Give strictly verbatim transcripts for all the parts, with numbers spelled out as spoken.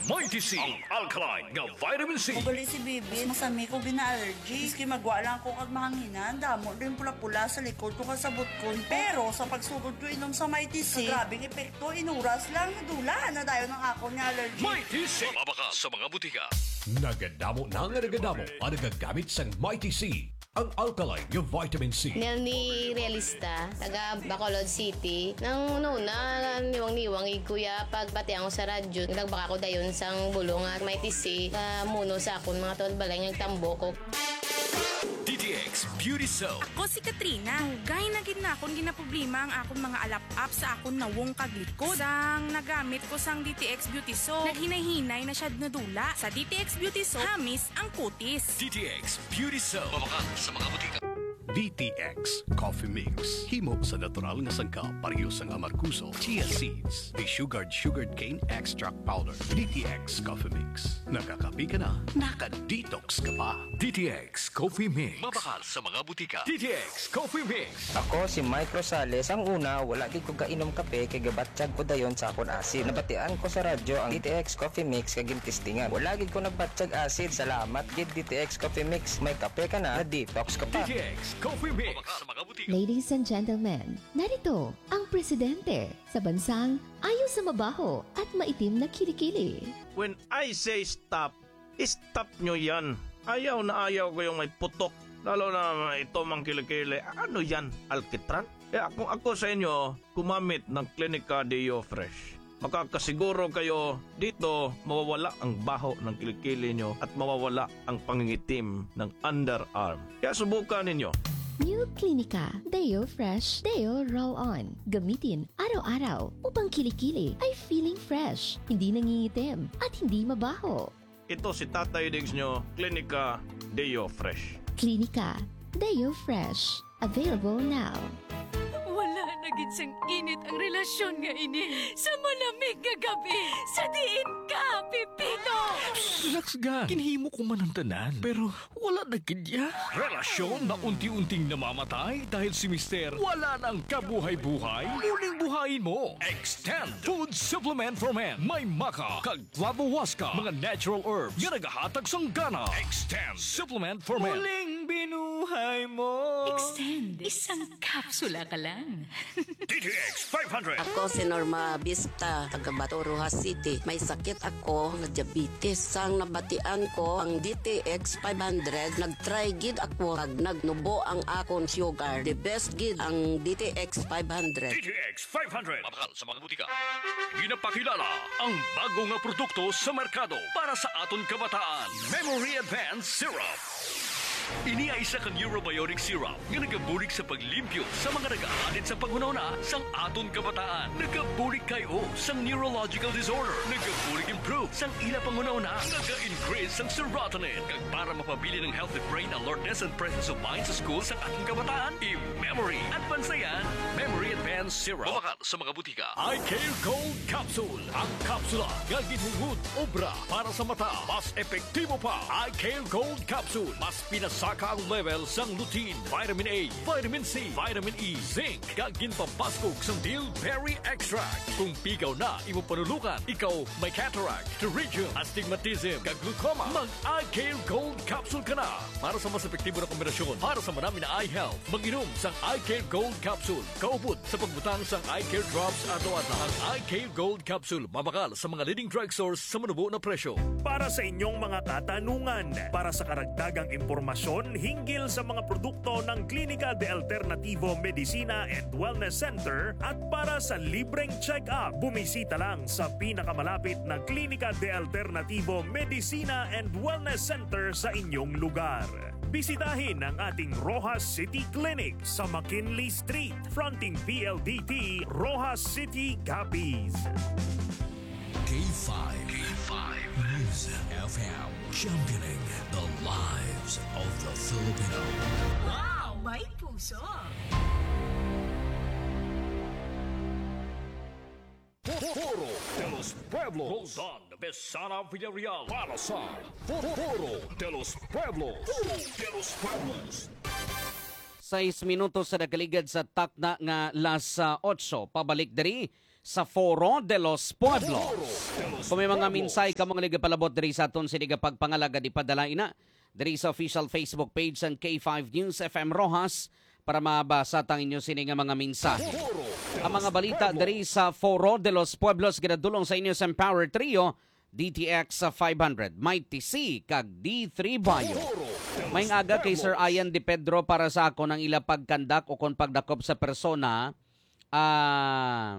Mighty C, ang alkaline nga vitamin C. Ugali si Bibi, masami ko gina-allergy. Maski magwa lang ko kag mahanginan, damo din pula-pula sa likod ko kag sa butkon. Pero sa pagsugod ko inom sa Mighty C, grabing epekto, inuras lang, nadula na dayon ang akon nga allergy. Mighty C, mabakal sa mga butika. Nagadamo na nga nagadamo ang nagagamit sang Mighty C, ang alkaline nga vitamin C. Nelny Realista, taga Bacolod City. Nang una, niwang-niwang gid ko ya pagbatian ko sa radyo. Nagbaka ko dayon sang bulong nga Mighty C, ah, muno sa akon mga tuod balay nga nagtambok ko. D T X Beauty Soap. Ako si Katrina. Dugay na gid na akon ginaproblema ang akon mga alap-ap sa akon nawong kag likod. Sang nagamit ko sang D T X Beauty Soap, naghinay-hinay na siya nadula. Sa D T X Beauty Soap, hamis ang kutis. D T X Beauty Soap. Mabakal sa mga butika. D T X Coffee Mix. Himo sa natural nga sangkap, pareho sang amargoso, chia seeds, desugared sugarcane extract powder. D T X Coffee Mix. Nakakape ka na, naka-detox ka pa. D T X Coffee Mix. Mabakal sa mga butika. D T X Coffee Mix. Ako si Mike Rosales. Ang una, wala gid ko kainom kape kay gabatyag ko dayon sa akon asid. Nabatian ko sa radyo ang D T X Coffee Mix kag gintistingan. Wala gid ko nagbatyag asid. Salamat gid D T X Coffee Mix. May kape ka na, na-detox ka pa. D T X Coffee Mix. Mabakal sa mga butika. Ladies and gentlemen, narito ang presidente sa bansang ayo sa mabaho at maitim na kilikili. When I say stop, stop nyo yan. Ayaw na ayaw ko yung may putok. Lalo na ito mang kilikili. Ano yan? Alkitran? Kaya kung ako sa inyo, gumamit ng Clinica Deo Fresh. Makakasiguro kayo dito mawawala ang baho ng kilikili nyo at mawawala ang pangingitim ng underarm. Kaya subukan ninyo. New Clinica Deo Fresh Deo Roll On. Gamitin araw-araw upang kilikili ay feeling fresh, hindi nangingitim, at hindi mabaho. Ito si Tatay Diggs nyo, Clinica Deo Fresh. Clinica Deo Fresh. Available now. Wala na gid sang init ang relasyon nga ini sa malamig nga gabi. Sa diin ka, Pipito? Relax, ga. Ginhimo ko man ang tanan, pero wala na gid ya. Relasyon na unti-unting namamatay dahil si Mister wala nang kabuhay-buhay. Muling buhayin mo. Extend Food Supplement for Men. May maca kag flavohuasca, mga natural herbs nga nagahatag sang gana. Extend Supplement for Men. Muling binuhay mo. Extend. Isang kapsula ka lang. D T X five hundred. Ako si Norma Bista, taga Bato, Roxas City. May sakit ako nga diabetes. Sang nabatian ko ang D T X five hundred, nag-try gid ako kag nagnubo ang akon sugar. The best gid ang D T X five hundred. D T X five hundred. Mabakal sa mga butika. Ginapakilala ang bago nga produkto sa merkado para sa aton kabataan, Memory Advance Syrup. Ini ay isa ka neurobiotic syrup nga nagabulig sa paglimpyo sa mga nagahalin sa panghunahuna sang aton kabataan. Nagabulig kay o sang neurological disorder. Nagabulig improve sang ila panghunahuna. Naga-increase sang serotonin. Kag para mapabilin ang healthy brain alertness and presence of mind sa school sang aton kabataan, i-Memory Advance na yan. Memory Advance Syrup. Mabakal sa mga butika. Eye Care Gold Capsule. Ang kapsula nga ginhungod obra para sa mata. Mas epektibo pa. Eye Care Gold Capsule. Mas pinasaka ang level sang lutein, vitamin A, vitamin C, vitamin E, zinc, kag ginpapaskog sang bilberry extract. Kung pigaw na imo panulungan, ikaw may cataract, pterygium, astigmatism, kag glaucoma, mag Eye Care Gold Capsule ka na para sa mas epektibo na kombinasyon para sa manami na eye health. Mag-inom sang Eye Care Gold Capsule kaupod sa pagbutang sang Eye Care Drops adlaw-adlaw. Ang Eye Care Gold Capsule mabakal sa mga leading drugstores sa manubo na presyo. Para sa inyong mga katanungan, para sa karagdagang impormasyon hinggil sa mga produkto ng Klinika de Alternativo Medicina and Wellness Center at para sa libreng check-up, bumisita lang sa pinakamalapit na Klinika de Alternativo Medicina and Wellness Center sa inyong lugar. Bisitahin ang ating Roxas City Clinic sa McKinley Street, fronting P L D T, Roxas City, Capiz. K five. K five News F M, championing the lives of the Filipino. Wow! May puso! Foro de los Pueblos. Roldan Besana Villarreal para sa Foro de los Pueblos. Foro de los Pueblos. Sais minutos sa nakaligad sa takna nga las, ah, otso. Pabalik diri sa Foro de los Pueblos. Kung may mga mensahe ka mga ligapalabot diri sa aton sini nga pagpangalagad, ipadala ina diri sa official Facebook page sang K five News F M Roxas para mabasa tang inyo sini nga mga mensahe. Ang mga balita diri sa Foro de los Pueblos ginadulong sa inyo sa Empower Trio, D T X five hundred, Mighty C, kag D three Bayo. May aga kay Sir Ian De Pedro para sa akon ang ila pagkandak o kon pagdakop sa persona, ah,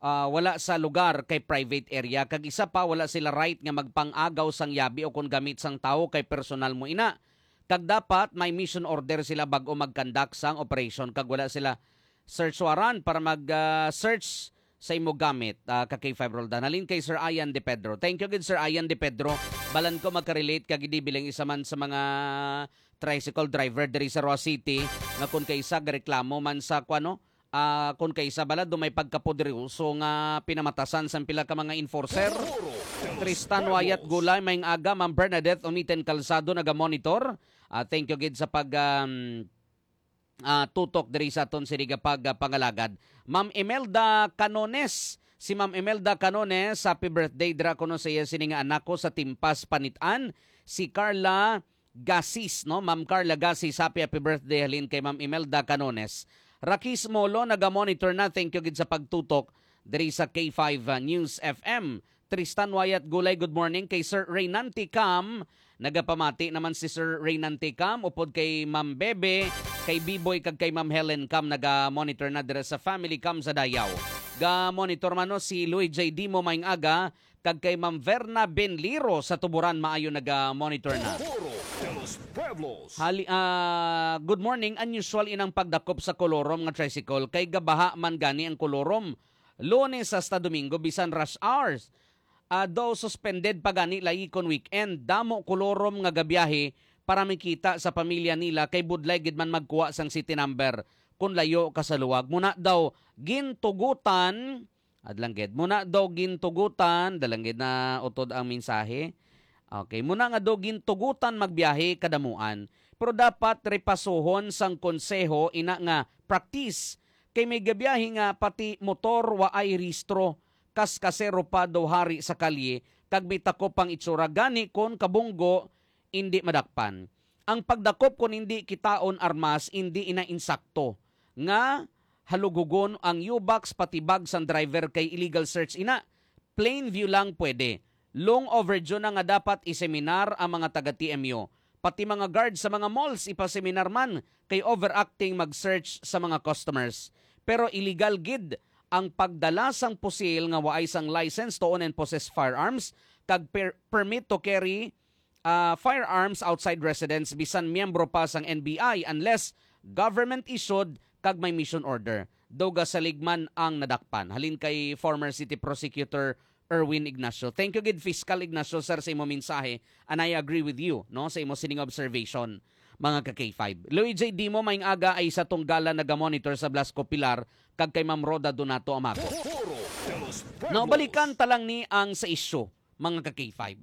ah, wala sa lugar kay private area, kag isa pa, wala sila right nga magpang-agaw sang yabi o kon gamit sang tawo kay personal mo ina. Kag dapat may mission order sila bag-o magkandak sang operation, kag wala sila search warrant para mag, ah, search sa imo gamit, ah, ka K five Roldan. Halin kay Sir Ian De Pedro. Thank you gid, Sir Ian De Pedro. Balan ko magka-relate ka gid, bilang isa man sa mga tricycle driver diri sa Roa City, nga kun kay isa gareklamo man sa kuno, ah, kun kay isa bala do may pagkapoderoso nga pinamatasan sang pila ka mga enforcer. Tristan Wayat Gulay, may aga, Ma'am Bernadette Umiten Calzado naga-monitor. Ah, thank you gid sa pag, um, ah, tutok diri sa aton sini nga pag, ah, pangalagad. Ma'am Imelda Canones, si Ma'am Imelda Canones, happy birthday dira kuno sa iya sini nga anak ko sa Timpas Panitan, si Carla Gasis, no? Ma'am Carla Gasis, happy, happy birthday halin kay Ma'am Imelda Canones. Rakis Molo, naga-monitor na. Thank you gid sa pagtutok diri sa K five, ah, News F M. Tristan Wayat Gulay, good morning. Kay Sir Reynante Cam, nagapamati naman si Sir Reynante Cam, upod kay Ma'am Bebe, kay Biboy, kag kay Ma'am Helen Cam, naga-monitor na dira sa Family Cam sa Dayaw. Ga-monitor man, no, si Louis J Dimo, maayong aga, kag kay Ma'am Verna Benliro sa Tuburan, maayo naga-monitor na. Foro de los Pueblos. Hali-, ah, good morning. Unusual inang pagdakop sa Kolorom nga tricycle, kay gabaha man gani ang Kolorom, Lunes hasta Domingo, bisan rush hours. Ah, daw suspended pa gani layi kon weekend. Damo Kolorom nga gabiyahe para makita sa pamilya nila, kay budlay gid man magkuha sang city number kon layo ka sa luwag. Muna daw gintugutan, adlangged. Muna daw gintugutan, dalangged na utod ang mensahe. Okay, muna nga daw gintugutan magbiyahe kadamuan. Pero dapat repasuhon sang konseho ina nga practice. Kay may gabiyahe nga pati motor wa ay rehistro, kas kasero pa daw hari sa kalye, kag may takop pang itsura. Gani kon kabunggo, indi madakpan. Ang pagdakop kon indi kitaon armas, indi ina insakto nga halughugon ang U-Box pati bag sang driver, kay illegal search ina. Plain view lang pwede. Long overdue na nga dapat iseminar ang mga taga T M U. Pati mga guard sa mga malls ipaseminar man, kay overacting mag-search sa mga customers. Pero illegal gid ang pagdala sang pusil nga waay sang license to own and possess firearms kag per-, permit to carry, ah, firearms outside residence, bisan miyembro pa sang N B I, unless government issued kag may mission order. Daw gasalig man ang nadakpan. Halin kay former City Prosecutor Erwin Ignacio. Thank you gid, Fiscal Ignacio, sir, sa imo mensahe, and I agree with you, no, sa imo sining observation, mga ka K five. Louis J Dimo, maayong aga, ay sa Tunggala naga-monitor sa Blasco Pilar, kag kay Ma'am Rhoda Donato Amago. Foro de los Pueblos. Now, balikan ta lang ni ang sa isyu, mga ka K five.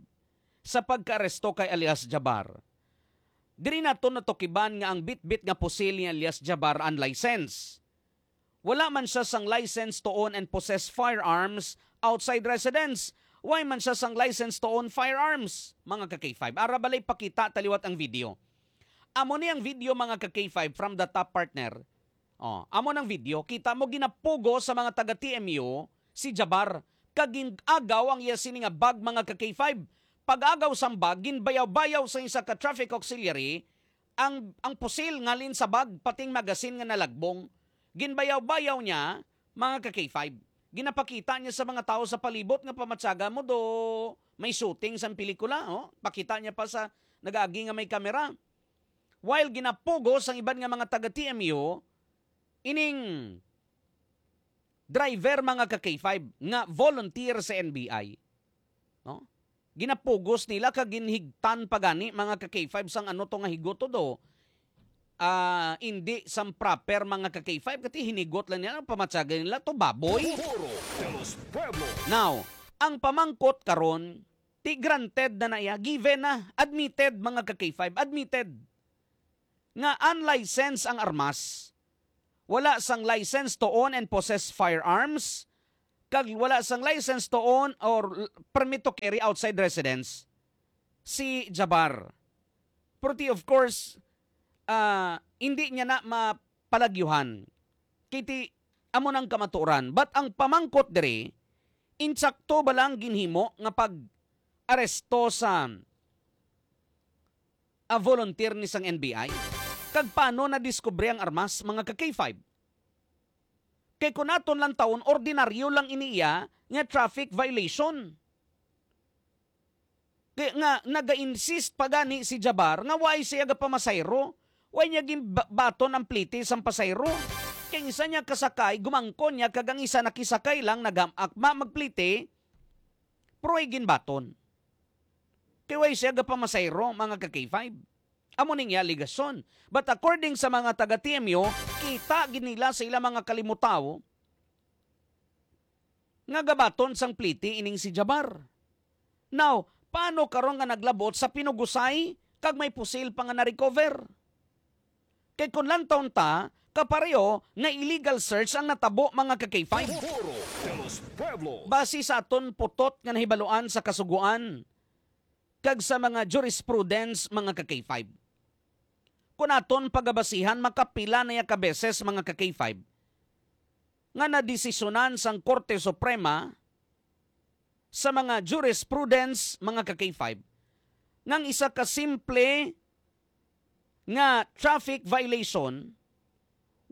Sa pagkaaresto kay alias Jabar, diri nato natukiban nga ang bitbit nga pusil ni alias Jabar unlicensed. Wala man siya sang license to own and possess firearms outside residence. Wala man siya sang license to own firearms, mga ka K five. Ara balay, pakita ta liwat ang video. Amo ni ang video, mga ka K five, from the top, partner. Oh, amo nang video. Kita mo, ginapugos sa mga taga T M U si Jabar, kag gin-agaw ang iya sini nga bag, mga ka K five. Pag-agaw sang bag, ginbayaw-bayaw sa isa ka traffic auxiliary ang, ang pusil ngalin sa bag, pati ang magazine nga nalagbong. Ginbayaw-bayaw niya, mga ka K five. Ginapakita niya sa mga tawo sa palibot nga pamatyaga mo do may shooting sang pelikula, oh. Pakita niya pa sa nagaagi nga may kamera. While ginapugos ang iban nga mga taga T M U, ining driver, mga ka K five, nga volunteer sa N B I, no? Ginapugos nila kag ginhigtan pa gani, mga ka K five, sang ano to nga higot to do. Ah, indi sang proper, mga ka K five, kati hinigot lang nila, pamatyagan nila to baboy. Foro de los Pueblos. Now, ang pamangkot karon, ti granted na na iya, given na, admitted, mga ka K five, admitted nga unlicensed ang armas. wala sang license to own and possess firearms, kag wala sang license to own or l-, permit to carry outside residence si Jabbar. Pero ti, of course, ah, hindi niya na mapalagyuhan. Kay ti, amo nang kamatuoran. But ang pamangkot diri, insakto ba lang ginhimo nga pag-aresto sa, ah, volunteer ni sang N B I? Kag paano nadiskubre ang armas, mga ka K five? Kay kun aton lang taon, ordinaryo lang ini iya nga traffic violation. Kay nga, naga-insist pa gani si Jabar nga way siya gapamasayro. Way niya ginbaton ang pliti sang pasayro. Kay ang isa niya kasakay, gumangkon niya, kag ang isa nakisakay lang, nagam-, akma magpliti, pero way ginbaton. Kay way siya gapamasayro, mga ka K five. Amo ning iya alegasyon. But according sa mga taga T M U, kita gid nila sa ilang mga kalimutaw nga gabaton sang pliti ining si Jabar. Now, paano karon nga naglabot sa pinugusay kag may pusil pa nga na-recover? Kay kun lantawon ta, kapareho nga illegal search ang natabo, mga ka K five. Foro de los Pueblos. Base sa aton putot nga nahibaluan sa Kasugoan kag sa mga jurisprudence, mga ka K five. Kun aton pagabasihan, makapila na ya ka beses, mga ka K five, nga nadesisyonan sang Korte Suprema sa mga jurisprudence, mga ka K five, nga ang isa ka simple nga traffic violation,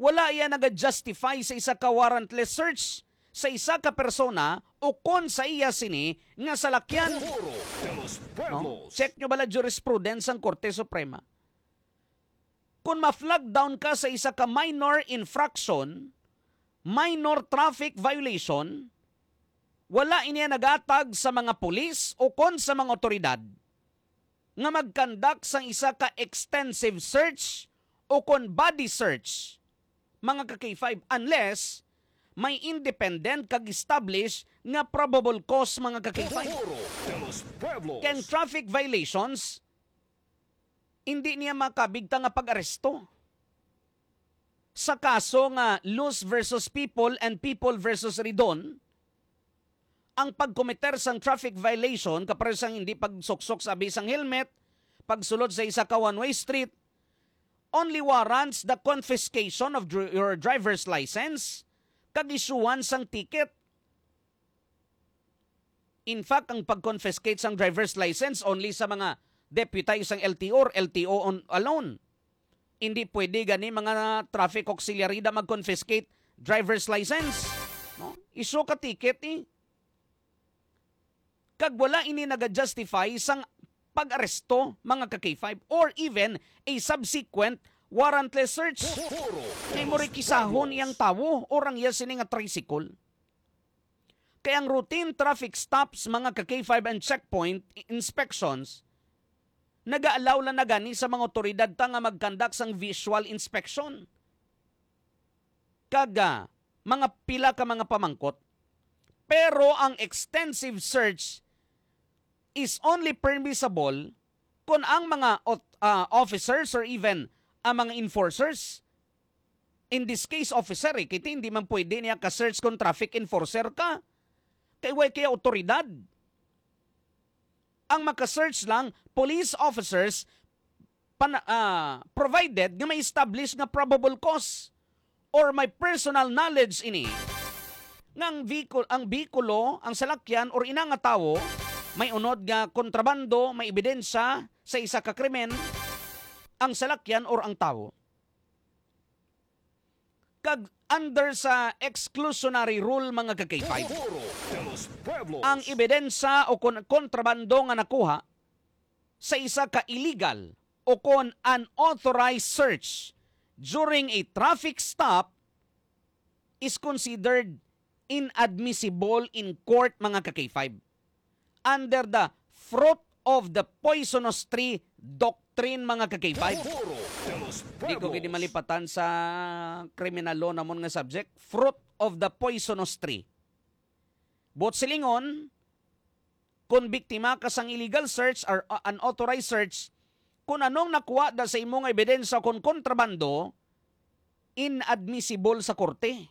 wala iya naga-justify sa isa ka warrantless search sa isa ka persona o kon sa iya sini nga salakyan. Foro de los No? Pueblos. Check nyo bala jurisprudence sang Korte Suprema. Kung ma-flag down ka sa isa ka minor infraction, minor traffic violation, wala ini nagatag sa mga pulis o kon sa mga otoridad nga mag-conduct sang isa ka extensive search o kon body search, mga ka K five, unless may independent kag established nga probable cause, mga ka K five. Foro de los Pueblos. Kay ang traffic violations, hindi niya makabigta nga pag-aresto. Sa kaso nga Luz versus People and People versus Ridon, ang pagkometer sang traffic violation, kapareho sang hindi pagsuksok sa abisang helmet, pagsulod sa isa ka one-way street, only warrants the confiscation of dri-, your driver's license kag isyuhan sang ticket. In fact, ang pag-confiscate sang driver's license only sa mga deputize sang L T O or L T O on, alone. Hindi pwede gani mga traffic auxiliary da mag-confiscate driver's license. No? Iso ka ticket eh. Kag wala ini naga-justify sang pag-aresto, mga ka K five, or even a subsequent warrantless search. Foro de los Pueblos. Kay mo rekisahon iyang tawo or ang iya sini nga tricycle. Kay ang routine traffic stops, mga ka K five, and checkpoint i-, inspections, naga-allow lang na gani sa mga otoridad ta nga mag-conduct sang visual inspection kag, ah, mga pila ka mga pamangkot. Pero ang extensive search is only permissible kung ang mga ot-, ah, officers or even ang mga enforcers, in this case, officer, eh, kay hindi man pwede niya ka-search kung traffic enforcer ka. Kay way kaya otoridad. Ang maka-search lang, police officers, pana-, ah, provided nga may established nga probable cause or may personal knowledge ini nga ang vehicul-, ang behikulo, ang salakyan, or ina nga tawo may unod nga kontrabando, may ebidensya sa isa ka krimen, ang salakyan or ang tawo. Kag under sa exclusionary rule, mga ka K five, Foro de los Pueblos. Ang ebidensya o kon-, kontrabando nga nakuha sa isa ka illegal o kon unauthorized search during a traffic stop is considered inadmissible in court, mga ka K five, under the fruit of the poisonous tree doctrine, mga ka K five. Foro de los Pueblos. Di ko gid malipatan sa criminal law namon nga subject, fruit of the poisonous tree. Buot silingon, kung biktima ka sang illegal search or, uh, unauthorized search, kung anong nakuha da sa imo nga ebidensya kung kontrabando, inadmissible sa korte.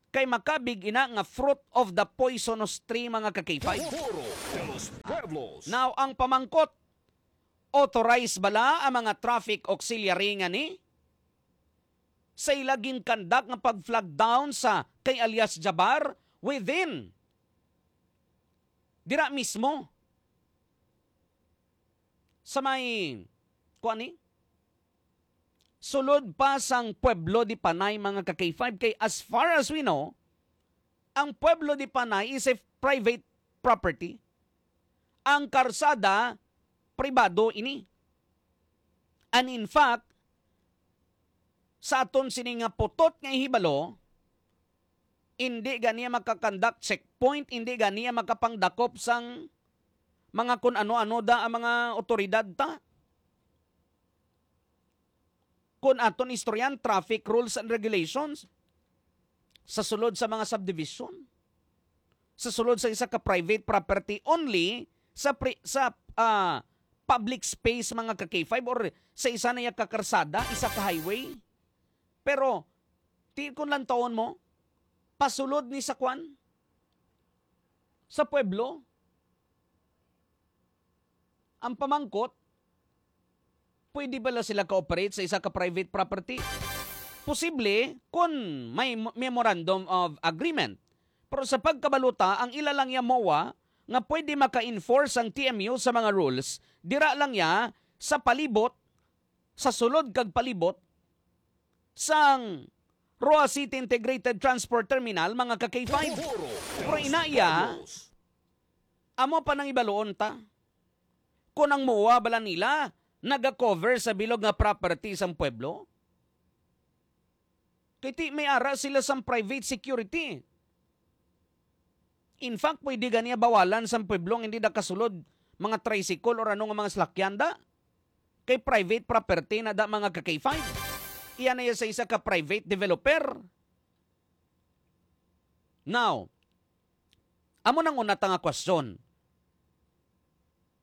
Kay makabig ina nga fruit of the poisonous tree, mga ka-K five. Foro de los Pueblos. Now, ang pamangkot, authorized bala ang mga traffic auxiliary nga ni sa ila ginkandak nga pag-flag down sa kay alias Jabar within dira mismo sa may, kuan ni? Sulod pa sang Pueblo de Panay, mga ka-K five, kay as far as we know, ang Pueblo de Panay is a private property. Ang karsada, pribado ini. And in fact, sa aton sini nga putot nga ihibalo, hindi ganiya makakandak checkpoint, hindi ganiya makapangdakop sang mga kun ano-ano da ang mga otoridad ta. Kun aton istoryan, traffic rules and regulations sa sulod sa mga subdivision, sa sulod sa isa ka private property, only sa pri-, sa, ah, public space, mga ka-K five, or sa isa na ya ka karsada, isa ka highway. Pero, ti-, kung lantawon mo, pasulod ni sa kwan, sa pueblo, ang pamangkot, pwede bala sila ka-operate sa isa ka private property? Posible kung may mo-, memorandum of agreement. Pero sa pagkabalota, ang ila lang ya MOA nga pwede maka-enforce ang T M U sa mga rules, dira lang ya sa palibot, sa sulod kag palibot sang Roa City Integrated Transport Terminal, mga ka-K five. Foro de Pero los inaya, Pueblos. Amo pa nang ibaluon ta. Kung ang MOA bala nila naga-cover sa bilog nga property sang pueblo? Kay ti may ara sila sang private security. In fact, pwede ganiya bawalan sang pueblo nga hindi nakasulod mga tricycle or ano nga mga salakyan da. Kay private property na da, mga ka-K five. Iya na iya sa isa ka private developer. Now, amo nang una ta nga question.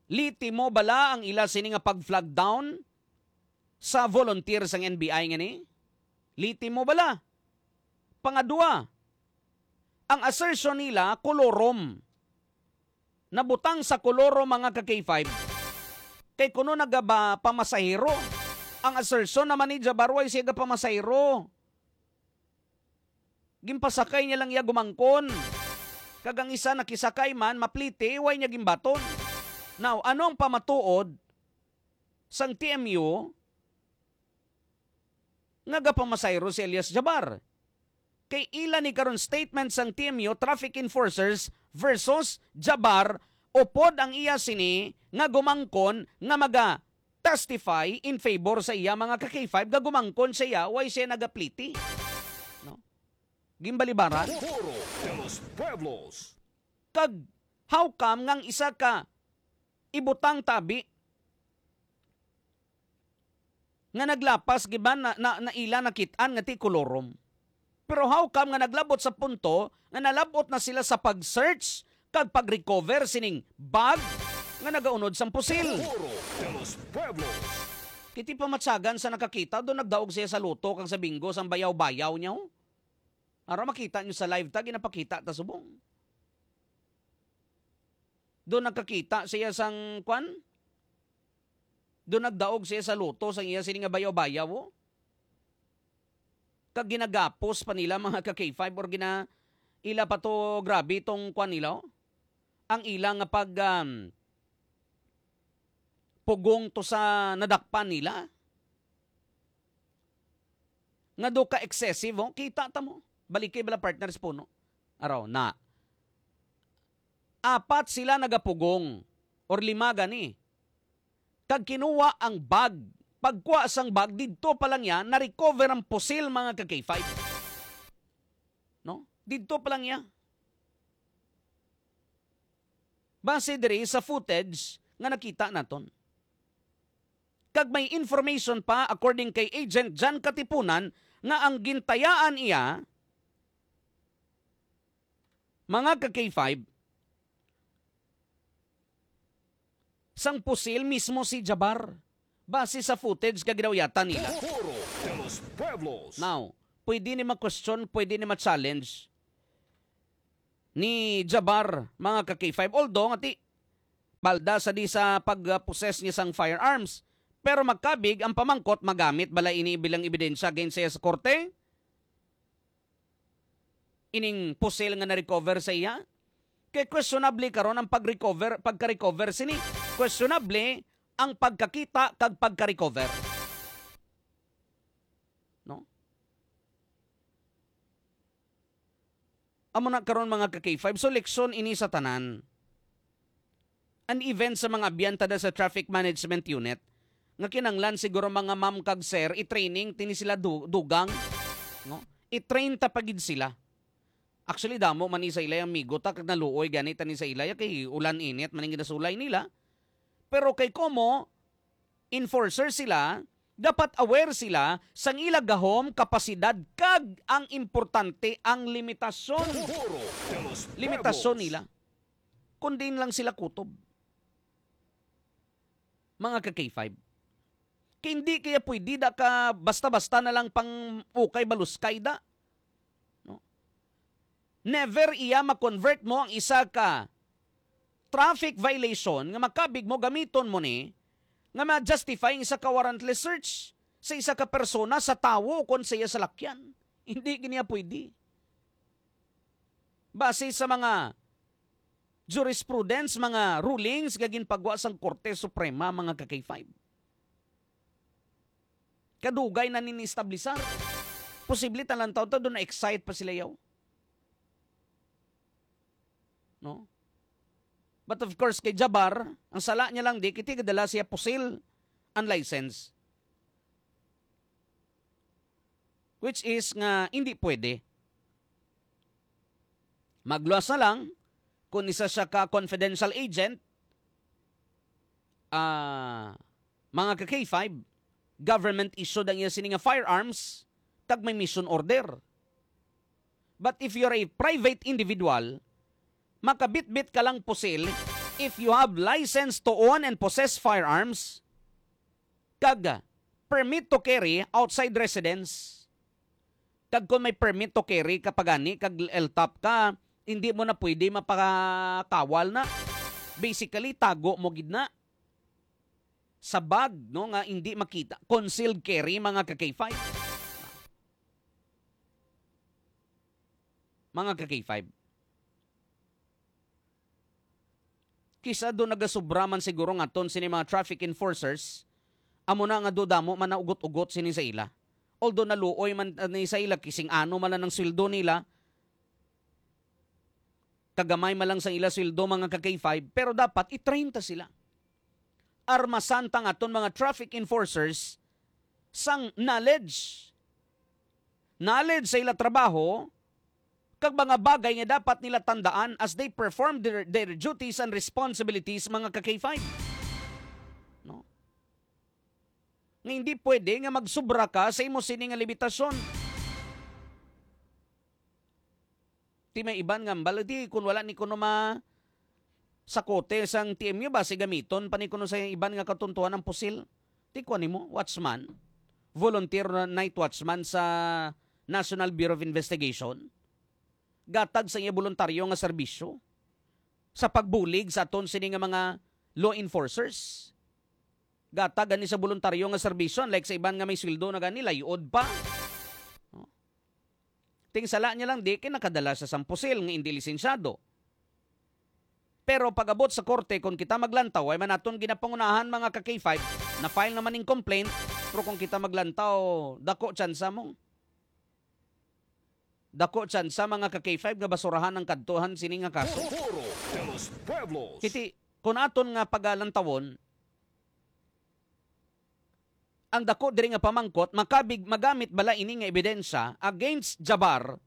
Liti mo bala ang ila sini nga pag-flag down sa volunteer sang N B I nga ni? Liti mo bala? Pangadua, ang assertion nila, kolorom. Nabutang sa kolorom, mga ka-K five. Kay kuno nagaba pamasahero. Ang assertion naman ni Jabar, way siya gapamasahero. Ginpasakay niya lang iya gumangkon. Kag ang isa nakisakay man, mapliti, way niya ginbaton. Now, ano ang pamatuod sang T M U nga gapamasahero si alias Jabar? Kay ila ni karon statement sang T M U, traffic enforcers versus Jabar, upod ang iya sini nga gumangkon nga maga-testify in favor sa iya, mga ka-K five, nga gumangkon sa iya, way siya nagapliti. No? Gimbalibaran. Foro de los Pueblos. Kag how come nga ang isa ka ibutang tabi nga naglapas, giban na, na, na ila nakit-an nga ti kolorom? Pero how come nga naglabot sa punto nga nalab-ot na sila sa pag-search kag pag-recover sining bag nga nagaunod sang pusil? Foro de los Pueblos. Kiti pamatsagan sa nakakita, do nagdaog siya sa loto kag sa bingo sang bayaw-bayaw niya, oh. Ara makita niyo sa live ta, ginapakita ta subong. Do nagkakita siya sang, kwan? Do nagdaog siya sa loto sang iya sini nga bayaw-bayaw, oh. Kag ginagapos pa nila, mga ka-K five, or gina-, ila pa to, grabe tong, kwan nila, oh. Ang ila nga pag, um, pugong to sa nadakpan nila. Nga do ka excessive, oh. Kita ta mo. Baliki bala, partners, puno. Araw na. Apat sila nagapugong, or lima gani. Kag kinuha ang bag. Pagkuha sang bag, didto pa lang niya, na-recover ang pusil, mga ka-K five. No? Didto pa lang niya. Base diri sa footage nga nakita naton. Kag may information pa, according kay Agent Jan Katipunan, nga ang gintayaan iya, mga ka-K five, sang pusil mismo si Jabar, base sa footage nga ginauyatan nila. Foro de los Pueblos. Now, pwede ni ma-question, pwede ni ma-challenge ni Jabbar, mga ka-K five. Although, nga ti, palda sa di sa pag-possess niya sang firearms. Pero makabig ang pamangkot, magamit bala ini bilang ebidensya against sa iya sa korte? Ining pusil nga na-recover sa iya? Kay questionable karon ang pag-recover, pagka-recover sini. Questionable ang pagkakita kag pagka-recover. No? Amo na karon, mga ka-K five. So, leksyon ini sa tanan. And even sa mga abyan ta da sa Traffic Management Unit, nga kinanglan siguro, mga ma'am kag sir, i-training tini sila du-, dugang, no? I-train ta pa gid sila. Actually, damo man ni sa ila ang amigo ta, kag naluoy gani tani sa ila, kay ulan init man ang ginasulay nila. Pero kay komo enforcer sila, dapat aware sila sang ila gahom, kapasidad, kag ang importante, ang limitasyon. Puro de los Limitasyon Pueblos. Nila. Kung diin lang sila kutob. Mga ka-K five. Kay hindi kaya pwede da ka basta-basta na lang pang ukay baluskay da. No? Never iya ma-convert mo ang isa ka traffic violation nga makabig mo gamiton mo ni nga ma-justify ang isa ka warrantless search sa isa ka persona, sa tawo, kon sa iya salakyan. Hindi gid niya pwede. Base sa mga jurisprudence, mga rulings nga ginpagwa sang Korte Suprema, mga ka-K five. Kadugay na nini-establisar. Posible talantaw ta doon na-excite pa sila yaw. No? But of course, kay Jabbar, ang sala niya lang di, kiti gadala siya pusil, unlicensed. Which is nga hindi pwede. Magluwas na lang kung isa siya ka confidential agent, ah, mga ka-K five, government issued ang iya sini nga firearms, kag may mission order. But if you're a private individual, makabitbit ka lang pusil if you have license to own and possess firearms, kag permit to carry outside residence. Kag kung may permit to carry ka pa gani, kag L top ka, hindi mo na pwede mapakawal na. Basically, tago mo gid na sa bag, no, nga hindi makita. Concealed carry, mga ka-K five. Mga ka-K five. Kisa do nagasubra man siguro nga ton sini mga traffic enforcers, amo na nga do damo man naugot-ugot sini sa ila. Although naluoy man, uh, ni sa ila, kising ano man lang ang sweldo nila, kagamay man lang sa ila sweldo, mga ka-K five, pero dapat i-train ta sila. Armasan ta nga ton mga traffic enforcers sang knowledge. Knowledge sa ila trabaho, kag mga bagay nga dapat nila tandaan as they perform their, their duties and responsibilities, mga ka-K five. No? Nga hindi pwede nga magsubra ka sa imo sini nga limitasyon. Ti may iban nga, "Bala, di, kung wala ni kuno ma-, sa kote sang T M U, basi gamiton pa ni kuno sa iban nga katuntuhan ang pusil." Ti kuan nimo, watchman, volunteer na night watchman sa National Bureau of Investigation. Gatag sa iya boluntaryo nga serbisyo sa pagbulig sa aton sini nga mga law enforcers. Gatag gani sa boluntaryo nga serbisyo, unlike sa iban nga may sweldo na gani, layod pa. No? Ting sala niya lang di kay nakadala sa sang pusil nga indi lisensyado. Pero pag-abot sa korte, kung kita maglantaw, ay man aton ginapangunahan, mga ka-K five, na-file naman ning complaint, pero kung kita maglantaw, dako tsansa mo. Dako tsansa, mga ka-K five, nga basurahan ang kadtuhan sini nga kaso. Futuro de los Pueblos. Kiti, kung aton nga pagalantawon, ang dako diri nga pamangkot, makabig-, magamit bala ini nga ebidensya against Jabbar,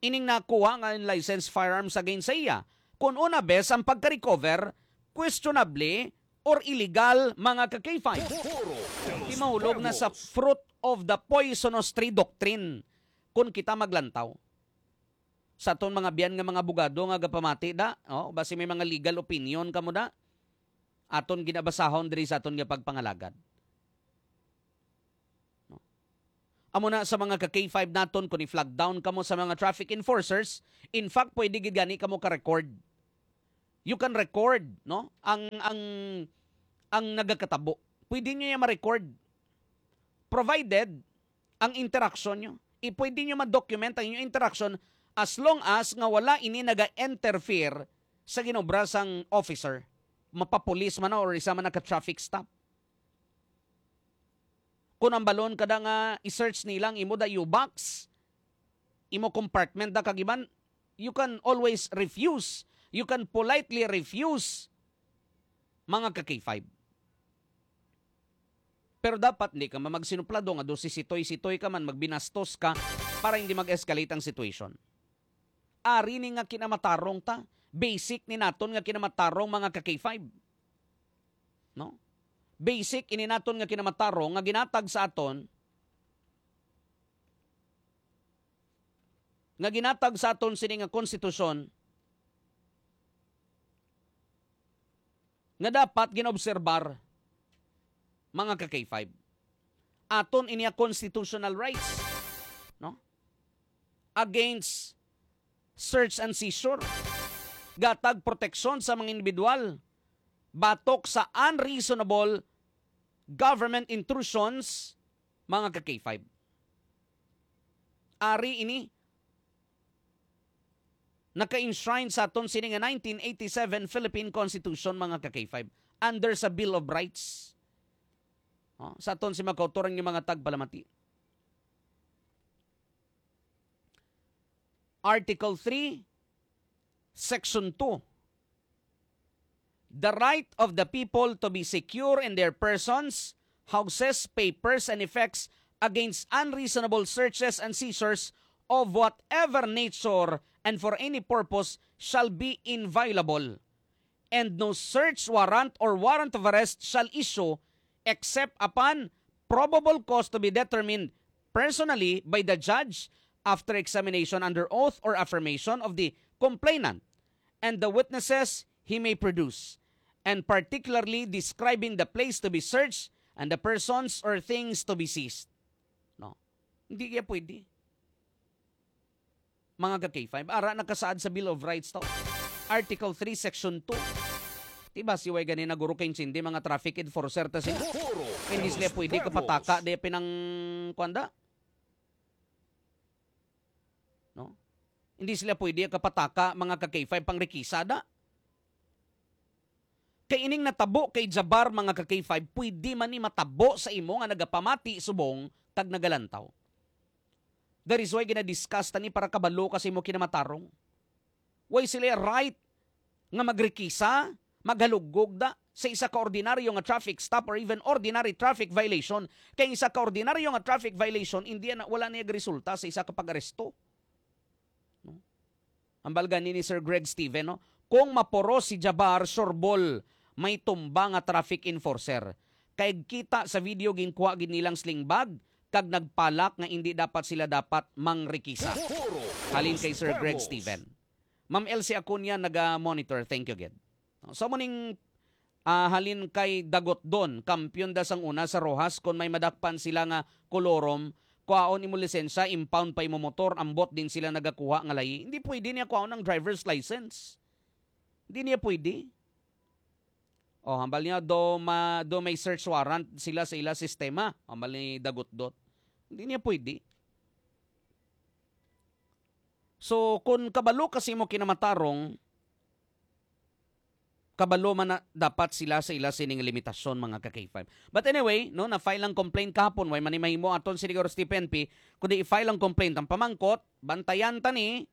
ining nakuha nga unlicensed firearms against sa iya? Kung una bes ang pagka-recover, questionable or illegal, mga ka-K five. Futuro de los Di mahulog na sa Pueblos. Fruit of the poisonous tree doctrine kung kita maglantaw. Sa aton mga biyan nga mga abogado nga gapamati da, oh, basi may mga legal opinion kamo da, aton ginabasahon diri sa aton nga pagpangalagad. No? Amo na sa mga ka K five naton, kung i-flag down kamo sa mga traffic enforcers, in fact, pwede gid gani kamo ka-record. You can record, no? Ang, ang, ang nagakatabo. Pwede nyo yan ma-record. Provided ang interaction nyo. I-, pwede nyo ma-document ang inyong interaction as long as nga wala ini naga-interfere sa ginobra sang officer. Mapapulis man na or isa man na ka traffic stop. Kung ang balon kada nga i-search nila ang imo da U-box, imo compartment da kagiban, you can always refuse. You can politely refuse, mga ka K five. Pero dapat hindi ka man magsinuplado nga do sisitoy-sitoy ka man, magbinastos ka para hindi mag-escalate ang situation. Ari ni nga kinamatarong ta. Basic ni naton nga kinamatarong, mga ka K five. No? Basic ini naton nga kinamatarong nga ginatag sa aton, nga ginatag sa aton sini nga konstitusyon, nga dapat ginaobserbar, mga ka K five. Aton ini nga constitutional rights, no? Against search and seizure. Gatag proteksyon sa mga individual batok sa unreasonable government intrusions, mga ka K five. Ari ini naka-enshrine sa aton sini nga nineteen eighty-seven Philippine Constitution, mga ka K five, under sa Bill of Rights. Oh, sa aton si mga kautoran nga mga tagpalamati. Article three, Section two. The right of the people to be secure in their persons, houses, papers, and effects against unreasonable searches and seizures of whatever nature and for any purpose shall be inviolable, and no search warrant or warrant of arrest shall issue except upon probable cause to be determined personally by the judge after examination under oath or affirmation of the complainant and the witnesses he may produce, and particularly describing the place to be searched and the persons or things to be seized. No? Hindi kaya pwede. Mga ka K five, ara nakasaad sa Bill of Rights to. Article three, Section two. Diba, si way gani na guro kay intindi, mga traffic enforcer ta sila. Hindi sila pwede kapataka, di pinang, kuwan da? No? Hindi sila pwede kapataka, mga ka K five, pang rikisa da. Kay ining natabo kay Jabar, mga ka K five, pwede man ni matabo sa imo nga nagapamati subong kag nagalantaw. That is why gina-discuss ta ni para kabalo ka sa imo kinamatarong. Way sila right nga magrikisa, maghalugog da sa isa ka ordinaryo nga traffic stop or even ordinary traffic violation. Kay isa ka ordinaryo nga traffic violation, hindi na, wala niya resulta sa isa ka pag-aresto. No? Ambal gani ni Sir Greg Steven, no? Kung mapuros si Jabar, sureball, may tumba nga traffic enforcer. Kay kita sa video, ginkuha gid nilang sling bag, kag nagpalak nga indi dapat sila dapat mangrikisa. Halin kay Sir Greg Steven. Ma'am Elsie Acuña, naga-monitor. Thank you, gid. So, mo ning, ah, halin kay Dagotdon, kampiyon da sang una sa Roxas, kon may madakpan sila nga kolorom, kuhaon imo lisensya, impound pa imo motor, ambot din sila nagakuha nga layi. Hindi pwede niya kuhaon ang driver's license. Hindi niya pwede. Oh, hambal niya, do ma-, do may search warrant sila sa ila sistema. Hambal ni Dagotdon. Hindi niya pwede. So, kung kabalo kasi mo kinamatarong, kabalo man na dapat sila sa ila sining limitasyon, mga ka K five. But anyway, no, na-file ang complaint kahapon, way man ni mahimo aton siguro sa T P N P, kundi i-file ang complaint. Ang pamangkot, bantayan ta ni,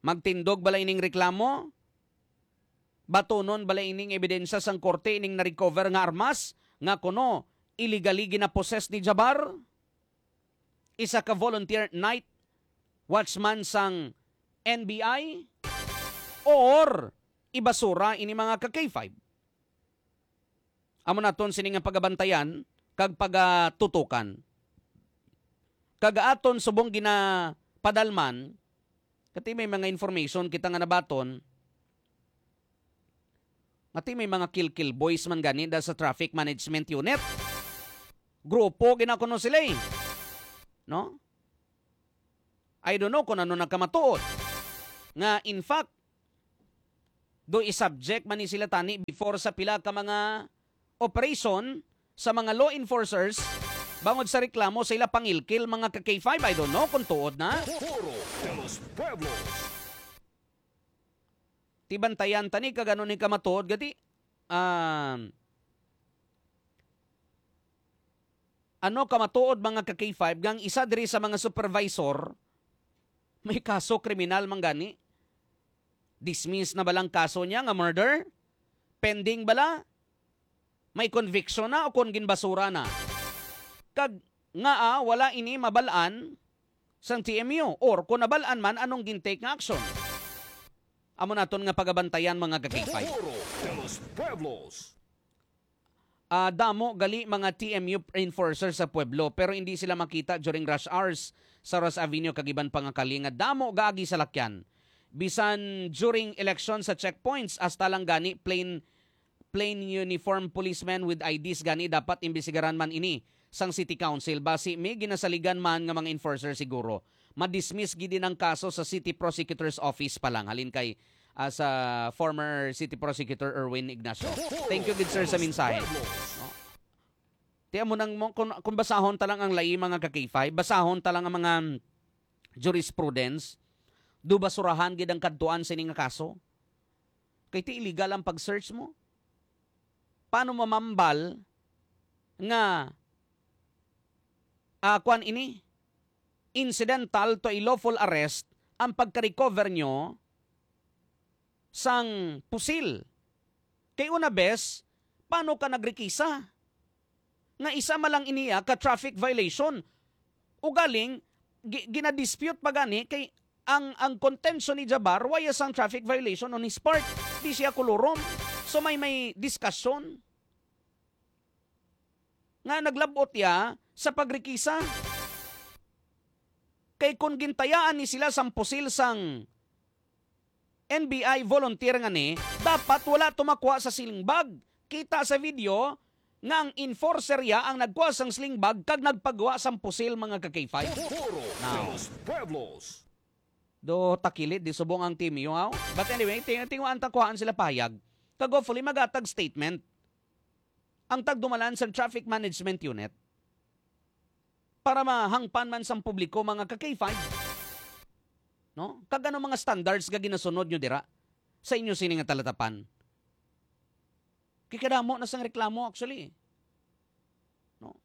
magtindog bala ining reklamo? Batunon bala ining ebidensya sang korte ining na-recover nga armas nga kuno illegally gina-possess ni Jabar? Isa ka volunteer night watchman sang N B I, or ibasura ini, mga ka K five? Amo naton sini nga pagabantayan kag pagatutukan. Kag aton subong ginapadalman, kati may mga information kita nga nabaton, kati may mga kilkil boys man gani da sa traffic management unit. Grupo gina kuno sila, eh. No? I don't know kung ano nakamatuod. Nga, in fact, do i-subject man ni sila tani before sa pila ka mga operation sa mga law enforcers bangod sa reklamo sa ila pangilkil, mga ka K five. I don't know kung tuod na. Foro de los Pueblos. Tibantayan tani kag ano ni kamatuod gati. Um, ano kamatuod, mga ka K five, nga ang isa diri sa mga supervisor may kaso kriminal man gani? Dismiss na ba lang kaso niya nga murder? Pending bala? May conviction na o kon ginbasura na? Kag ngaa wala ini mabal-an sang T M U? Or kung nabal-an man, anong gintake nga action? Amo naton nga pagabantayan, mga ka K five. Foro de los Pueblos. Ah, damo gali mga T M U enforcer sa pueblo, pero hindi sila makita during rush hours sa Ross Avenue kag iban pa nga kali nga damo gaagi salakyan. Bisan during election sa checkpoints, hasta lang gani plain plain uniform policemen with I Ds gani dapat imbestigaran man ini sang City Council. Basi may ginasaligan man nga mga enforcer siguro. Ma-dismiss gid ang kaso sa City Prosecutor's Office pa lang, halin kay, ah, sa former City Prosecutor Erwin Ignacio. Thank you gid, sir, sa mensahe. No? Ti amo nang mo, kung, kung basahon ta lang ang layi, mga ka K five, basahon ta lang ang mga jurisprudence, do basurahan gid ang kadtuan sini nga kaso? Kay ti illegal ang pag-search mo. Paano mamambal nga, ah, kwan ini? Incidental to a lawful arrest ang pagka-recover nyo sang pusil. Kay una bes, paano ka nagrekisa? Nga isa man lang iniya ka traffic violation. Ugaling, gi-, ginadispute pa gani kay ang, ang contention ni Jabbar, wala sang traffic violation on his part. Di siya kolorum. So may, may discussion nga naglabot ya sa pagrekisa. Kay kung gintayaan ni sila sang pusil sang N B I volunteer nga ni, dapat wala tumakwa sa sling bag. Kita sa video nga ang enforcer ya ang nagkuha sang sling bag kag nagpagawa sang pusil, mga ka K five. Foro de los Pueblos. Do takilid, di subong ang team yo, aw. But anyway, ting tinguan ta kuhaan sila payag. Kag hopefully magatag statement ang tagdumalan sa Traffic Management Unit para mahangpan man sang publiko, mga ka K five. No? Kag ano mga standards nga ginasunod nyo dira sa inyo sini nga talatapan? Kay kadamo na sang reklamo, actually. No?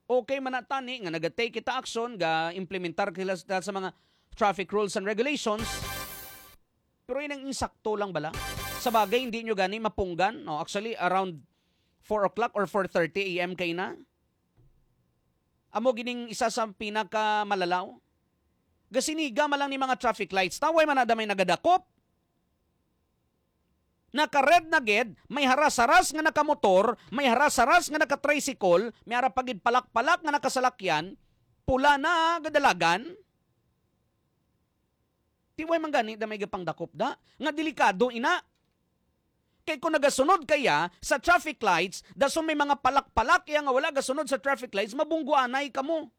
Okay man na tani nga nagatake kita action, ga-implementar kita sa mga traffic rules and regulations, pero yun ang insakto lang bala. Sa bagay, hindi nyo gani mapunggan. No? Actually, around four o'clock or four thirty A M kay na. Amo gining isa sa pinakamalalaw. Gasiniga man lang ni mga traffic lights. Taway man na may nagadakop. Naka-red na gid, may haras-haras nga nakamotor, may haras-haras nga naka-tricycle, may ara pa gid palak-palak nga nakasalakyan, pula na gadalagan. Tiway man gani da may gapangdakop da, nga delikado ina. Kay kung nagasunod kaya sa traffic lights, dason may mga palak-palak iya nga wala gasunod sa traffic lights, mabungguanay kamo.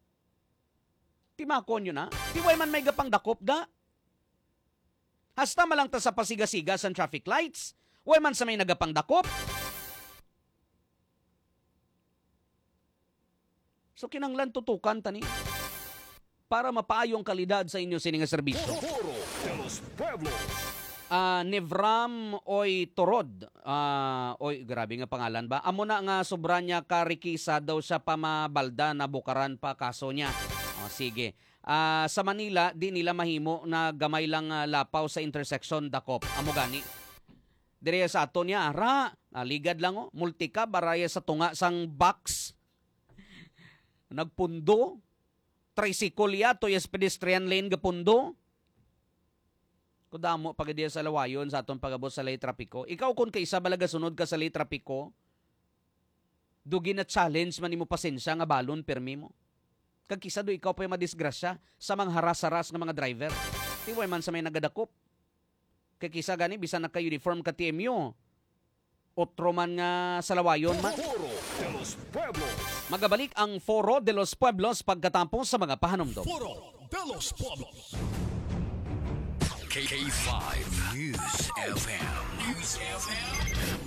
Timakon yun, ha? Tiway man may gapangdakop da. Hasta man lang ta sa pasiga-siga sang traffic lights, way man sa may nagapangdakop. So, kinahanglan tutukan ta ni para mapaayo ang kalidad sa inyo sini nga serbisyo. Foro de los Pueblos. Ah, Nevram Oy Torod. Ah, oy, grabe nga pangalan ba? Amo na nga sobra niya ka rikisa daw siya pa mabalda na bukaran pa kaso niya. Oh, sige. Ah, sa Manila, di nila mahimo na gamay lang, ah, lapaw sa intersection, dakop. Amo gani. Diri sa ato niya, ara, naligad lang, oh. Multicab, araya sa tunga sang box. Nagpundo. Tricycle ya, to yes pedestrian lane gapundo. Kudamo pa gid sa lawayon sa aton pagabot sa lay trapiko. Ikaw, kung kaisa bala gasunod ka sa lay trapiko, do gina-challenge man imo pasensya nga balon pirmi mo. Kag kisa do ikaw pa'y madisgrasya sa mga haras-haras nga mga driver. Tiway man sa may nagadakop. Kay kisa gani, bisan naka-uniform ka T M U, Otro man nga salawayon, ma-, Foro de los Pueblos. Magabalik ang Foro de los Pueblos pagkatapos sa mga pahanumdom. Foro de los Pueblos. K five News F M. News F M.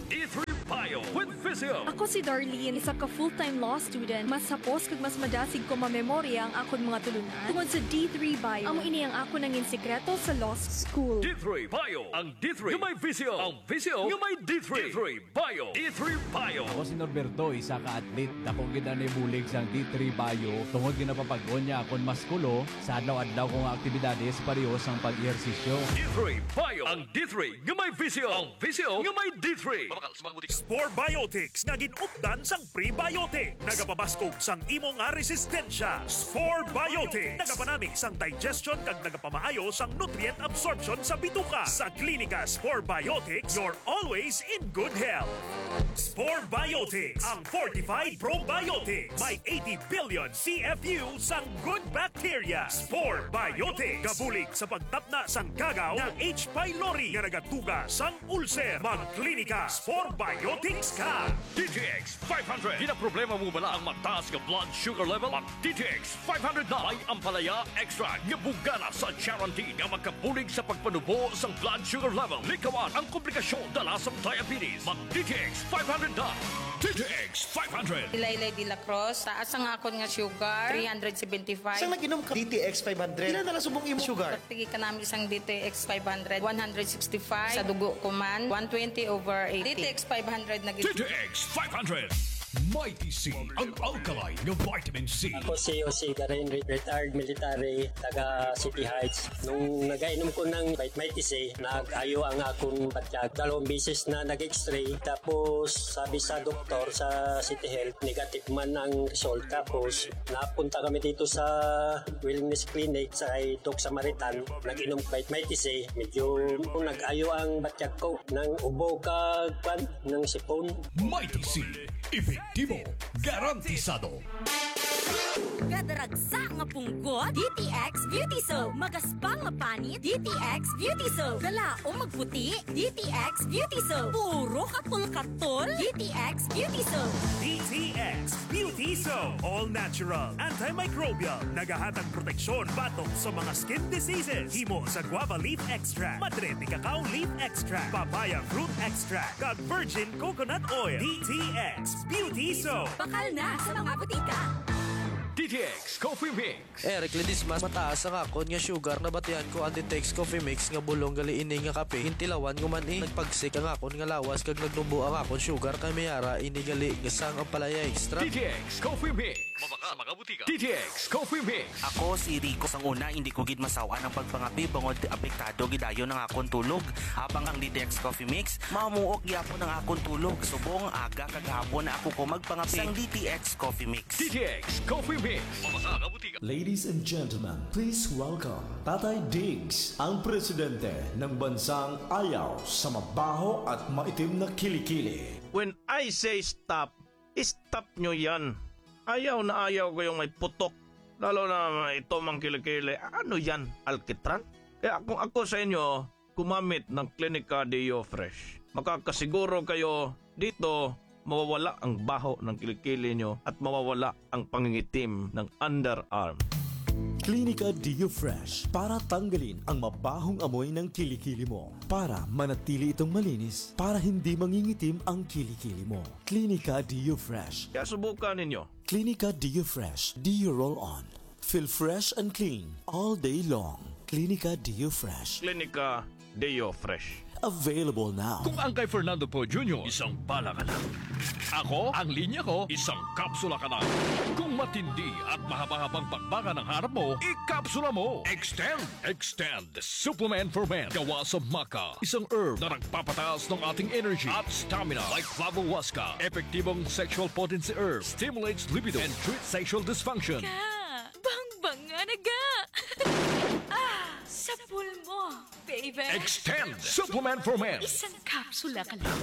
D three Bio with Physio. Ako si Darlene, isa ka full-time law student. Mas hapos kag mas madasig ko mamemorya ang akon mga tulunan tungod sa D three Bio. Amo ini ang akon nangin sikreto sa law school. D three Bio, ang D three nga may visyo, ang visyo nga may D three. D three Bio. D three Bio. Ako si Norberto, isa ka athlete. Dako gid ang nahibulig sang D three Bio tungod ginapapag-on niya akon maskulo sa adlaw-adlaw ko nga aktibidades, pareho sang pag-ehersisyo. D three Bio. Ang D three nga may visyo. Ang visyo nga may D three. Mabakal sa mga butika. Spore Biotics nga gin-updan sang prebiotic. Nagapabaskog sang imo nga resistensya. Spore Biotics. Nagapanami sang digestion kag nagapamaayo sang nutrient absorption sa bituka. Sa Klinika Spore Biotics, you're always in good health. Spore Biotics, ang fortified probiotics. May eighty billion C F U sang good bacteria. Spore Biotics. Gabulig sa pagtapna sang kagaw nga H. pylori nga nagatuga sang ulcer. Magklinika Spore Biotics ka. D T X five hundred. Ginaproblema mo bala ang mataas nga blood sugar level? Mag D T X five hundred na. May ampalaya extract nga bugana sa charantin nga makabulig sa pagpanubo sang blood sugar level. Likawan ang komplikasyon dala sang diabetes. Mag D T X five hundred na. D T X five hundred. Laylay de la Cruz, taas ang akon nga sugar, three hundred seventy-five. Sang nag-inom ka D T X five hundred, pila na lang subong imo sugar? Pagtigi ka namin sang D T X five hundred, one hundred sixty-five. Sa dugo ko man, one twenty over eighty. D T X five hundred na gid. D T X five hundred. Mighty C, ang alkaline nga vitamin C. Ako si Jose Garin, re-, retired military, taga City Heights. Nung nagainom ko ng Mighty C, nag-ayo ang akong batyag. Dalawang beses na nag-X-ray. Tapos sabi sa doktor sa City Health, negative man ang result. Tapos napunta kami dito sa Wellness Clinic sa kay Doc Samaritan. Nag-inom Mighty C. Medyo nag-ayo ang batyag ko. Nang ubo ka, kwan, nang sipon. Mighty C, epektibo, garantisado. Gadaragsa nga punggot, D T X Beauty Soap. Magaspang nga panit, D T X Beauty Soap. Galaom magputi, D T X Beauty Soap. Puro katol-katol, D T X Beauty Soap. D T X Beauty Soap. All natural, antimicrobial. Nagahatag proteksyon batok sa mga skin diseases. Himo sa guava leaf extract, madre de cacao leaf extract, papaya fruit extract, kag virgin coconut oil. D T X Beauty Soap. Bakal na sa mga butika. D T X Coffee Mix. Eric Ledesma, mataas ang akon nga sugar. Nabatian ko ang D T X Coffee Mix nga bulong gali ini nga kape. Gintilawan ko man, eh. Nagpagsik ang akon nga lawas kag nagnubo ang akon sugar, kay may ara ini gali nga sang ampalaya extract. D T X Coffee Mix. Mabakal sa mga butika. D T X Coffee Mix. Ako si Rico. Sang una, hindi ko gid masaw-an ang pagpangape bangod apektado gid dayon ang akon tulog. Habang ang D T X Coffee Mix, mamuok gyapon ang akon tulog. Subong aga kag hapon ako ko magpangape sang D T X Coffee Mix. D T X Coffee Mix. Mabakal sa mga butika. Ladies and gentlemen, please welcome Tatay Diggs, ang presidente ng bansang ayaw sa mabaho at maitim na kilikili. When I say stop, stop nyo yan. Ayaw na ayaw ko yung may putok. Lalo na ito mang kilikili. Ano yan? Alkitran? Kaya kung ako sa inyo, gumamit ng Klinika Deo Fresh. Makakasiguro kayo dito, mawawala ang baho ng kilikili nyo at mawawala ang pangingitim ng underarm. Klinika Deo Fresh para tanggalin ang mabahong amoy ng kilikili mo, para manatili itong malinis, para hindi mangingitim ang kilikili mo. Klinika Deo Fresh. Kaya subukan ninyo. Klinika Deo Fresh Deo Roll On. Feel fresh and clean all day long. Klinika Deo Fresh. Klinika Deo Fresh. Available now. Kung ang kay Fernando Poe Junior, isang bala ka na. Ako, ang linya ko, isang kapsula ka na. Kung matindi at mahaba-habang bakbakan ang harap mo, ikapsula mo. Extend, Extend Supplement for Men. Gawa sa maca, isang herb na nagpapataas ng ating energy at stamina. Like Flavohuasca, epektibong sexual potency herb, stimulates libido, and treats sexual dysfunction. Ka, bangbang nga naga. Ah, sa pulmon. Baby. Extend Supplement for Men. Isang kapsula ka lang.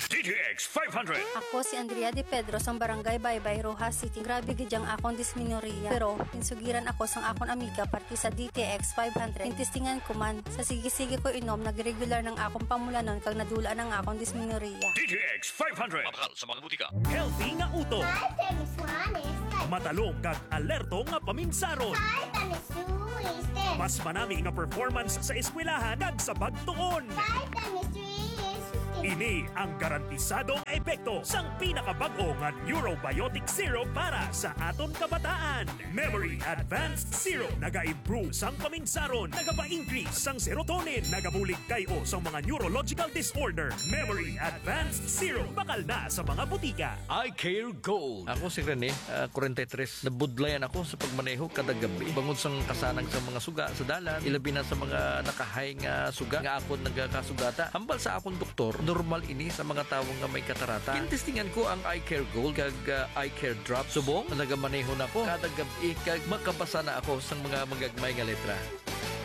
D T X five hundred. Ako si Andrea De Pedro sang Barangay Baybay, Roxas City. Grabe gid ang akon dismenorrhea. Pero insugiran ako sang akon amiga parte sa D T X five hundred. Intestingan ko man. Sa sige-sige ko inom, nagregular nang akon pamulanon kag nadula nang akon dismenorrhea. D T X five hundred. Mabakal sa mga butika. Healthy nga utok. Five times one is ten. Matalom kag alerto nga paminsaron. Five times two is ten. Mas manami nga performance sa eskwelahan kag sa pagtuon. Five times three is fifteen. Ini ang garantisadong epekto sang pinakabag-o nga Neurobiotic Syrup para sa aton kabataan. Memory Advanced Syrup nagaimprove sang paminsaron, nagapa-increase sang serotonin, nagabulig kay-o sang mga neurological disorder. Memory Advanced Syrup, bakal na sa mga butika. Eye Care Gold. Ako si Rene, ah, forty-three. Nabudlayan ako sa pagmaneho kada gabi. Bangod sang kasanag sa mga suga sa dalan, ilabi na sa mga nakahay nga suga nga akon nagakasugata. Hambal sa akon doktor, normal ini sa mga tawo nga may katarata. Gintestingan ko ang Eye Care Gold kag, ah, Eye Care Drop. Subong, nagamaneho na ko kada gab-i kag makabasa na ako sang mga magagmay nga letra.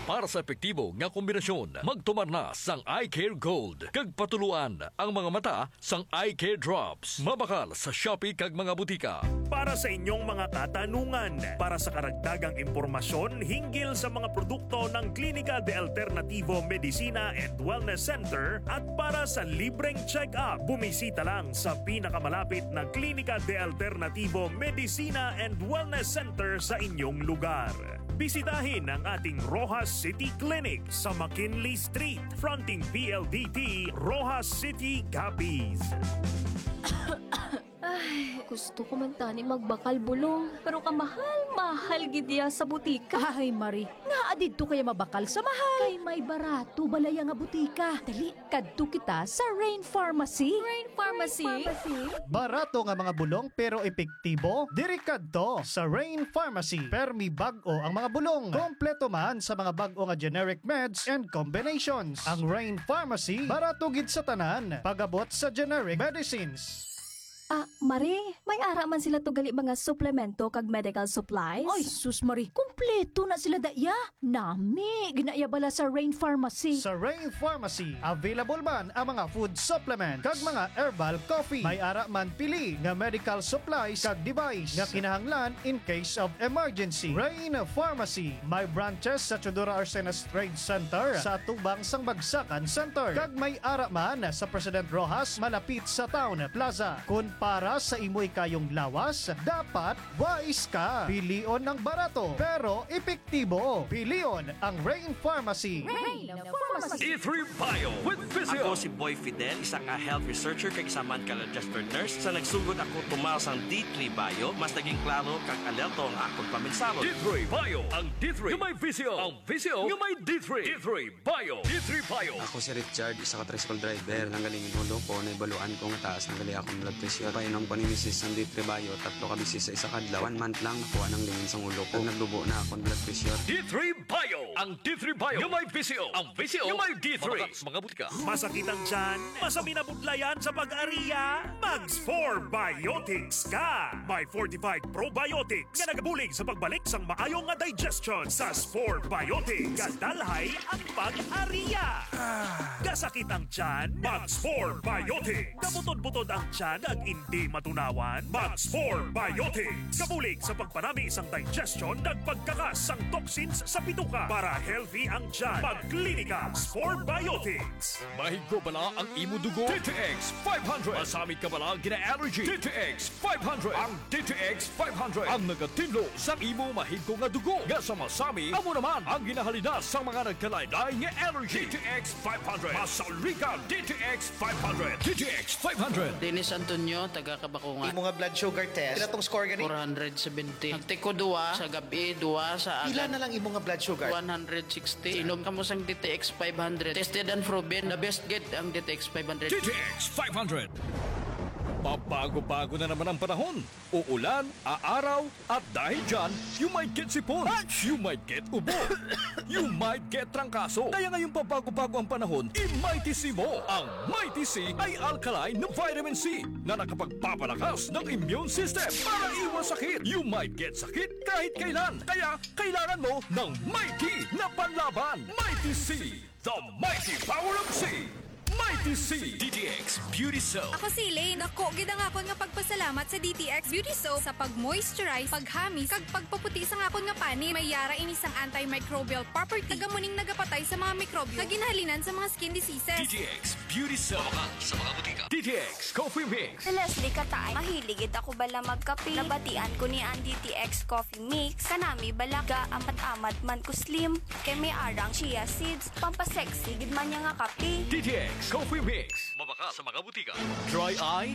Para sa epektibo nga kombinasyon, magtumar na sang Eye Care Gold kag patuluan ang mga mata sang Eye Care Drops. Mabakal sa Shopee kag mga butika. Para sa inyong mga katanungan, para sa karagdagang impormasyon hinggil sa mga produkto ng Clínica de Alternativo Medicina and Wellness Center at para sa libreng check-up, bumisita lang sa pinakamalapit na Clínica de Alternativo Medicina and Wellness Center sa inyong lugar. Bisitahin ang ating Roxas City Clinic sa McKinley Street, fronting P L D T, Roxas City, Capiz. Ay, gusto ko man tani magbakal bulong, pero kamahal-mahal gid iya sa butika. Ay, Mari, ngaa didto kaya mabakal sa mahal? Kay may barato balaya nga butika. Dali, kadto kita sa Rain Pharmacy. Rain Pharmacy? Barato nga mga bulong pero epektibo? Diri kadto sa Rain Pharmacy. Permi bag-o ang mga bulong. Kompleto man sa mga bag-o nga generic meds and combinations. Ang Rain Pharmacy, barato gid sa tanan. Pag-abot sa generic medicines. Ah, Mari, may ara man sila to gali mga suplemento kag medical supplies? Ay, sus, Mari, kompleto na sila daya. Nami, ginaiya bala sa Rain Pharmacy. Sa Rain Pharmacy, available man ang mga food supplement kag mga herbal coffee. May ara man pili nga medical supplies kag device nga kinahanglan in case of emergency. Rain Pharmacy, may branches sa Teodoro Arcenas Trade Center, sa atubang sang Bagsakan Center, kag may ara man sa President Roxas, malapit sa Town Plaza. Kon para sa imo ikayong lawas, dapat wais ka. Pilion ang barato, pero epektibo. Pilion ang Rain Pharmacy. Rain Pharmacy. D three Bio with Physio. Ako si Boy Fidel, isa nga health researcher kag isa man ka registered nurse. Sa nagsugod ako tumal sang D three Bio, mas naging klaro kag alerto ang akon paminsaron. D three Bio, ang D three nga may Physio, ang Physio nga may D three. D three Bio. D three Bio. Ako si Richard, isa ka tricycle driver. Nanggaling ang ulo ko, nahibaluan ko nga taas na gali akong blood pressure. Painom ko ni misis sang D three Bio, tatlo ka beses sa isa ka adlaw. One month lang, nakuha nang lingin sang ulo ko. Naglubo na akong blood pressure. D three Bio. Ang D three Bio nga may Physio. Ang Physio nga may D three. Mabakal sa mga butika. Masakit ang tiyan? Masami na budlayan sa pag-ariya? Mag Spore Biotics ka! May fortified probiotics nga nagabulig sa pagbalik sang maayo nga digestion. Sa Spore Biotics, gadalhay ang pag-ariya. Kasakit ang tiyan? Mag Spore Biotics. Kabutod-butod ang tiyan ag indi matunawan? Mag Spore Biotics. Kabulig sa pagpanami sang digestion kag pagkakas sang toxins sa bituka para healthy ang tiyan. Mag Klinika Spore Biotics. Mahigko bala ang imo dugo? D T X five hundred. Masami ka bala gina-allergy? D T X five hundred. Ang D T X five hundred ang nagatinlo sa imo mahigko nga dugo nga sa masami, amo naman ang ginahalinas sa mga nagkalain-lain nga allergy. D T X five hundred. Masauligan, D T X five hundred. D T X five hundred. Dennis Antonio, taga Kabakungan. Imo nga blood sugar test, pila tong score gani? Four hundred seventy. Nagtiko duwa sa gabi, duwa sa Pila agad. Na lang imo nga blood sugar? One hundred sixty. Inom kamo sang D T X five hundred. Tested and proven, the best gid ang D T X five hundred. D T X five hundred. Pabago-bago na naman ang panahon. Uulan, aaraw, at dahil dyan, you might get sipon, you might get ubo, you might get trangkaso. Kaya ngayong pabago-bago ang panahon, i-Mighty C mo. Ang Mighty C ay alkaline na vitamin C na nakapagpapalakas ng immune system para iwas sakit. You might get sakit kahit kailan. Kaya kailangan mo ng Mighty na panlaban. Mighty C, the mighty power of C. Mighty C. D T X Beauty Soap. Ako si Elaine. Dako gid ang akon nga pagpasalamat sa D T X Beauty Soap sa pag-moisturize, paghamis, kag pagpaputi sang akon nga panit. May yara ini sang antimicrobial property. Taga mo ning nagapatay sa mga mikrobyo nga ginahalinan sa mga skin diseases. D T X Beauty Soap. Mabakal sa mga butika. D T X Coffee Mix. Si Leslie Kataay, mahilig gid ako bala magkape. Nabatian ko ni ang D T X Coffee Mix. Kanami bala ga amat-amat man ko slim. Kay may arang chia seeds. Pampasexy gid man niya nga kape. D T X Coffee Mix. Mabakal sa mga butika. Dry eye,